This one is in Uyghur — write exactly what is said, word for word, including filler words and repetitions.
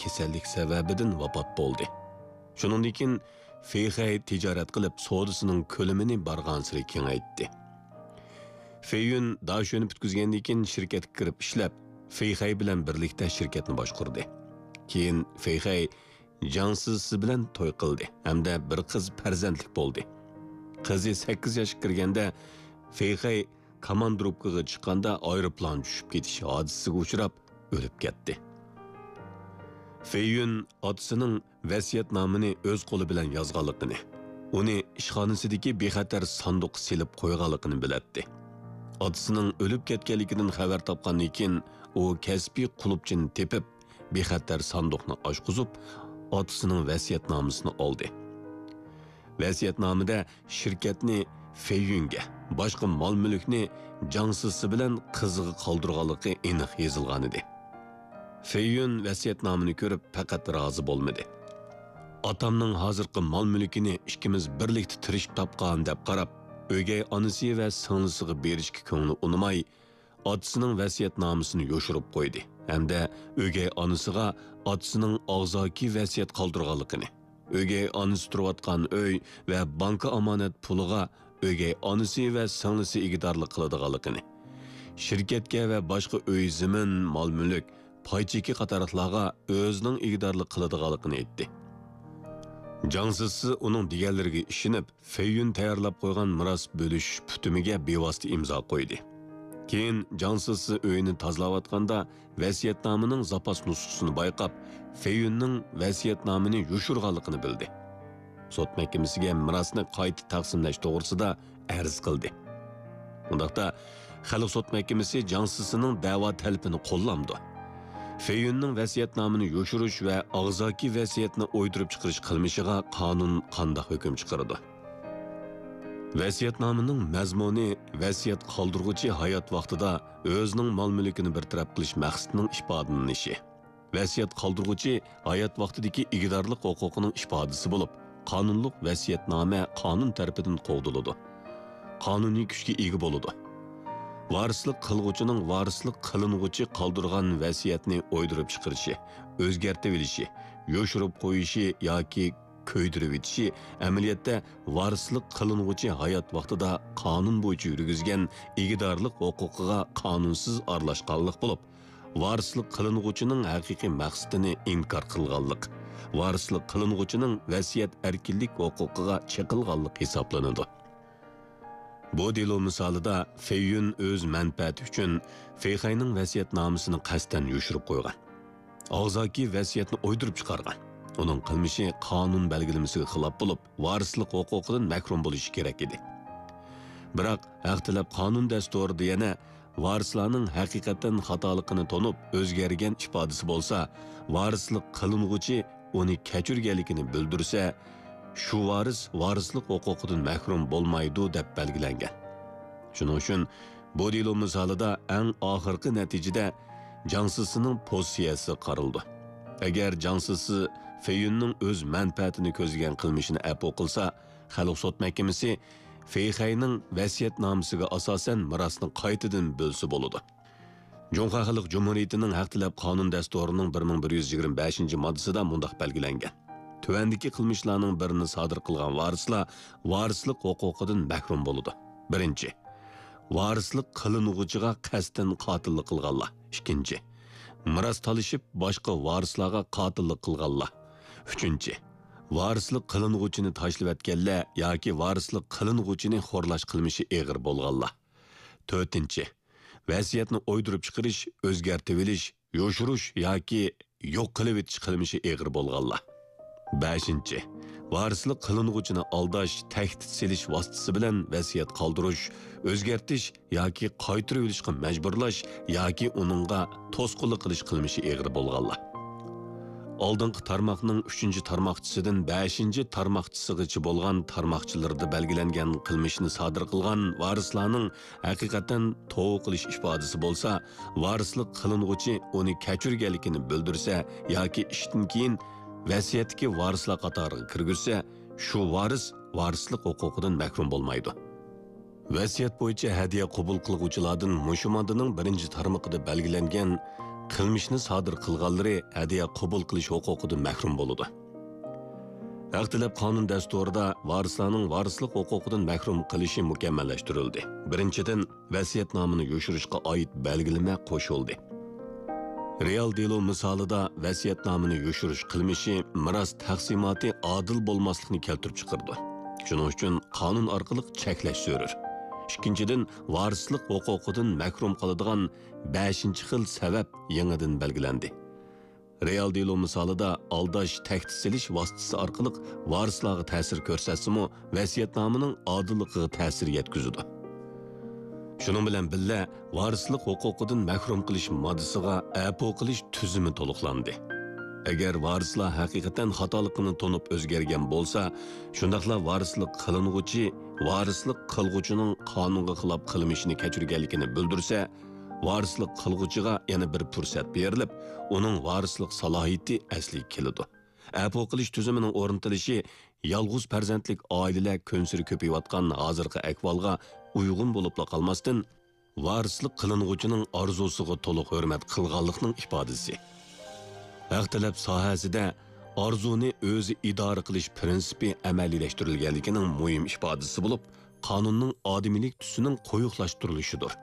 كېسەللىك سەۋەبىدىن ۋاپات بولدى. شۇنىڭدىن كېيىن فېيخەي تىجارەت قىلىپ، سودىسىنىڭ كۆلىمىنى بارغانسېرى كېڭەيتتى. فېييۈن داشۆنى پۈتكۈزگەندىن كېيىن شىركەتكە كىرىپ ئىشلەپ، فېيخەي بىلەن بىرلىكتە شىركەتنى باشقۇردى. كېيىن فېيخەي جاڭ سىسى بىلەن توي قىلدى ھەمدە بىر قىز پەرزەنتلىك بولدى. قىزى سەككىز ياشقا كىرگەندە، فېيخەي كاماندىروپكىغا چىققاندا ئايروپىلان چۈشۈپ كېتىش ھادىسىسىگە ئۇچراپ، ئۆلۈپ كەتتى. فېييۈن ئاتىسىنىڭ ۋەسىيەتنامىنى ئۆز قولى بىلەن يازغانلىقىنى، ئۇنى ئىشخانىسىدىكى بىخەتەر ساندۇققا سېلىپ قويغانلىقىنى بىلەتتى. ئاتىسىنىڭ ئۆلۈپ كەتكەنلىكىدىن خەۋەر تاپقاندىن كېيىن، ئۇ كەسپىي قۇلۇپچىنى تېپىپ، بىخەتەر ساندۇقنى ئاچقۇزۇپ، ئاتىسىنىڭ ۋەسىيەتنامىسىنى ئالدى. ۋەسىيەتنامىدە شىركەتنى فېييۈنگە، باشقا مال-مۈلۈكنى جاڭ سىسى بىلەن قىزىغا قالدۇرغانلىقى ئېنىق يېزىلغانىدى. فېييۈن ۋەسىيەتنامىنى كۆرۈپ پەقەت رازى بولمىدى. «ئاتامنىڭ ھازىرقى مال-مۈلكىنى ئىككىمىز بىرلىكتە تىرىشىپ تاپقان» دەپ قاراپ، ئۆگەي ئانىسى ۋە سىڭلىسىغا بېرىشكە كۆڭلى ئۇنىماي، ئاتىسىنىڭ ۋەسىيەتنامىسىنى يوشۇرۇپ قويدى ھەمدە ئۆگەي ئانىسىغا ئاتىسىنىڭ ئاغزاكى ۋەسىيەت قالدۇرغانلىقىنى، ئۆگەي ئانىسى تۇرۇۋاتقان ئۆي ۋە بانكا ئامانەت پۇلىغا ئۆگەي ئانىسى ۋە سىڭلىسى ئىگىدارلىق قىلىدىغانلىقىنى، شىركەتكە ۋە باشقا ئۆي، زېمىن، مال-مۈلۈك، پاي چېكى قاتارلىقلارغا ئۆزىنىڭ ئىگىدارلىق قىلىدىغانلىقىنى ئېيتتى. جاڭ سىسى ئۇنىڭ دېگەنلىرىگە ئىشىنىپ، فېييۈن تەييارلاپ قويغان مىراس بۆلۈشۈش پۈتۈمىگە بىۋاسىتە ئىمزا قويدى. كېيىن جاڭ سىسى ئۆيىنى تازىلاۋاتقاندا، ۋەسىيەتنامىنىڭ زاپاس نۇسخىسىنى بايقاپ، فېييۈننىڭ ۋەسىيەتنامىنى يوشۇرغانلىقىنى بىلدى. سوت مەھكىمىسىگە مىراسنى قايتا تەقسىملەش توغرىسىدا ئەرز قىلدى. ئۇنداقتا، خەلق سوت مەھكىمىسى جاڭ سىسىنىڭ دەۋا تەلىپىنى قوللامدۇ؟ فېييۈننىڭ ۋەسىيەتنامىنى يوشۇرۇش ۋە ئاغزاكى ۋەسىيەتنى ئويدۇرۇپ چىقىرىش قىلمىشىغا قانۇن قانداق ھۆكۈم چىقىرىدۇ؟ ۋەسىيەتنامىنىڭ مەزمۇنى ۋەسىيەت قالدۇرغۇچى ھايات ۋاقتىدا ئۆزىنىڭ مال-مۈلكىنى بىر تەرەپ قىلىش مەقسىتىنىڭ ئىپادىلىنىشى، ۋەسىيەت قالدۇرغۇچى ھايات ۋاقتىدىكى ئىگىدارلىق ھوقۇقىنىڭ ئىپادىسى بولۇپ، قانۇنلۇق ۋەسىيەتنامە قانۇن تەرىپىدىن قوغدىلىدۇ. قانۇنىي كۈچكە ئىگە بولىدۇ. ۋارىسلىق قىلغۇچىنىڭ ۋارىسلىق قىلىنغۇچى قالدۇرغان ۋەسىيەتنى ئويدۇرۇپ چىقىرىشى، ئۆزگەرتىۋېلىشى، يوشۇرۇپ قويۇشى ياكى كۆيدۈرۈۋېتىشى ئەمەلىيەتتە ۋارىسلىق قىلىنغۇچى ھايات ۋاقتىدا قانۇن بويىچە يۈرگۈزگەن ئىگىدارلىق ھوقۇقىغا قانۇنسىز ئارىلاشقانلىق بولۇپ، ۋارىسلىق قىلىنغۇچىنىڭ ھەقىقىي مەقسىتىنى ئىنكار قىلغانلىق، ۋارىسلىق قىلىنغۇچىنىڭ ۋەسىيەت ئەركىنلىك ھوقۇقىغا چېقىلغانلىق ھېسابلىنىدۇ. بۇ دېلو مىسالىدا فېييۈن ئۆز مەنپەئەتى ئۈچۈن فېيخەينىڭ ۋەسىيەتنامىسىنى قەستەن يوشۇرۇپ قويغان. ئاغزاكى ۋەسىيەتنى ئويدۇرۇپ چىقارغان. ئۇنىڭ قىلمىشى قانۇن بەلگىلىمىسىگە خىلاپ بولۇپ، ۋارىسلىق ھوقۇقىدىن مەھرۇم بولۇشى كېرەك ئىدى. بىراق، ھەق تەلەپ قانۇن دەستۇرىدا يەنە ۋارىسلارنىڭ ھەقىقەتەن خاتالىقىنى تونۇپ، ئۆزگەرگەن ئىپادىسى بولسا، ۋارىسلىق قىلىنغۇچى ئۇنى كەچۈرگەنلىكىنى بىلدۈرسە، شۇ ۋارىس ۋارىسلىق ھوقۇقىدىن مەھرۇم بولمايدۇ، دەپ بەلگىلەنگەن. شۇنىڭ ئۈچۈن بۇ دېلو مىسالىدا ئەڭ ئاخىرقى نەتىجىدە جاڭ سىسىنىڭ پوزىتسىيەسى قارىلىدۇ. ئەگەر جاڭ سىسى فېييۈننىڭ ئۆز مەنپەئەتىنى كۆزلىگەن قىلمىشىنى ئەپۇ قىلسا، خەلق سوت مەھكىمىسى فېيخەينىڭ ۋەسىيەتنامىسىگە ئاساسەن مىراسنى قايتىدىن بۆلسە بولىدۇ. جۇڭخۇا خەلق جۇمھۇرىيىتىنىڭ ھەق تەلەپ قانۇن دەستۇرىنىڭ بىر مىڭ بىر يۈز يىگىرمە بەشىنچى ماددىسىدا مۇنداق بەلگىلەنگەن: تۆۋەندىكى قىلمىشلارنىڭ بىرىنى سادىر قىلغان ۋارىسلار ۋارىسلىق ھوقۇقىدىن مەھرۇم بولىدۇ. بىرىنچى، ۋارىسلىق قىلىنغۇچىغا قەستەن قاتىللىق قىلغانلار. ئىككىنچى، مىراس تالىشىپ باشقا ۋارىسلارغا قاتىللىق قىلغانلار. ئۈچىنچى، ۋارىسلىق قىلىنغۇچىنى تاشلىۋەتكەنلەر ياكى ۋارىسلىق قىلىنغۇچىنى خورلاش قىلمىشى ئېغىر بولغانلار. تۆتىنچى، ۋەسىيەتنى ئويدۇرۇپ چىقىرىش، ئۆزگەرتىۋېلىش، يوشۇرۇش ياكى يوق قىلىۋېتىش قىلمىشى ئېغىر بولغانلار. بەشىنچى، ۋارىسلىق قىلىنغۇچىنى ئالداش، تەھدىت سېلىش ۋاسىتىسى بىلەن ۋەسىيەت قالدۇرۇش، ئۆزگەرتىش ياكى قايتۇرۇۋېلىشقا مەجبۇرلاش ياكى ئۇنىڭغا توسقۇنلۇق قىلىش قىلمىشى ئېغىر بولغانلار. ئالدىنقى تارماقنىڭ ئۈچىنچى تارماقچىسىدىن بەشىنچى تارماقچىسىغىچە بولغان تارماقچىلىرىدا بەلگىلەنگەن قىلمىشنى سادىر قىلغان ۋارىسلارنىڭ ھەقىقەتەن توۋا قىلىش ئىپادىسى بولسا، ۋارىسلىق قىلىنغۇچى ئۇنى كەچۈرگەنلىكىنى بىلدۈرسە ياكى ئىشتىن كېيىن ۋەسىيەتتىكى ۋارىسلار قاتارىغا كىرگۈزسە، شۇ ۋارىس ۋارىسلىق ھوقۇقىدىن مەھرۇم بولمايدۇ. ۋەسىيەت بويىچە ھەدىيە قوبۇل قىلغۇچىلاردىن مۇشۇ ماددىنىڭ بىرىنچى تارمىقىدا بەلگىلەنگەن قىلمىشنى سادىر قىلغانلىرى ھەدىيە قوبۇل قىلىش ھوقۇقىدىن مەھرۇم بولىدۇ. ھەق تەلەپ قانۇن دەستۇرىدا ۋارىسلارنىڭ ۋارىسلىق ھوقۇقىدىن مەھرۇم قىلىشى مۇكەممەللەشتۈرۈلدى. بىرىنچىدىن، ۋەسىيەتنامىنى يوشۇرۇشقا ئائىت بەلگىلىمە قوشۇلدى. رېئال دېلو مىسالىدا ۋەسىيەتنامىنى يوشۇرۇش قىلمىشى مىراس تەقسىماتى ئادىل بولماسلىقنى كەلتۈرۈپ چىقىرىدۇ. شۇنىڭ ئۈچۈن قانۇن ئارقىلىق چەكلەش زۆرۈر. ئىككىنچىدىن، ۋارىسلىق ھوقۇقىدىن مەھرۇم قالىدىغان بەشىنچى خىل سەۋەب يېڭىدىن بەلگىلەندى. رېئال دېلو مىسالىدا ئالداش، تەھدىت سېلىش ۋاسىتىسى ئارقىلىق ۋارىسلارغا تەسىر كۆرسەتسىمۇ، ۋەسىيەتنامىنىڭ ئادىللىقىغا تەسىر يەتكۈزىدۇ. شۇنىڭ بىلەن بىللە، ۋارىسلىق ھوقۇقىدىن مەھرۇم قىلىش ماددىسىغا ئەپۇ قىلىش تۈزۈمى تولۇقلاندى. ئەگەر ۋارىسلار ھەقىقەتەن خاتالىقىنى تونۇپ ئۆزگەرگەن بولسا، شۇنداقلا ۋارىسلىق قىلىنغۇچى ۋارىسلىق قىلغۇچىنىڭ قانۇنغا خىلاپ قىلمىشىنى كەچۈرگەنلىكىنى بىلدۈرسە، ۋارىسلىق قىلغۇچىغا يەنە بىر پۇرسەت بېرىلىپ، ئۇنىڭ ۋارىسلىق سالاھىيىتى ئەسلىگە كېلىدۇ. ئەپۇ قىلىش تۈزۈمىنىڭ ئورنىتىلىشى يالغۇز پەرزەنتلىك ئائىلىلەر كۈنسېرى كۆپىيىۋاتقان ھازىرقى ئەھۋالغا ئۇيغۇن بولۇپلا قالماستىن، ۋارىسلىق قىلىنغۇچىنىڭ ئارزۇسىغا تولۇق ھۆرمەت قىلغانلىقنىڭ ئىپادىسى. ھەق تەلەپ ساھەسىدە ئارزۇنى ئۆزى ئىدارە قىلىش پىرىنسىپى ئەمەلىيلەشتۈرۈلگەنلىكىنىڭ مۇھىم ئىپادىسى بولۇپ، قانۇننىڭ ئادىمىيلىك تۈسىنىڭ قويۇقلاشتۇرۇلۇشىدۇر.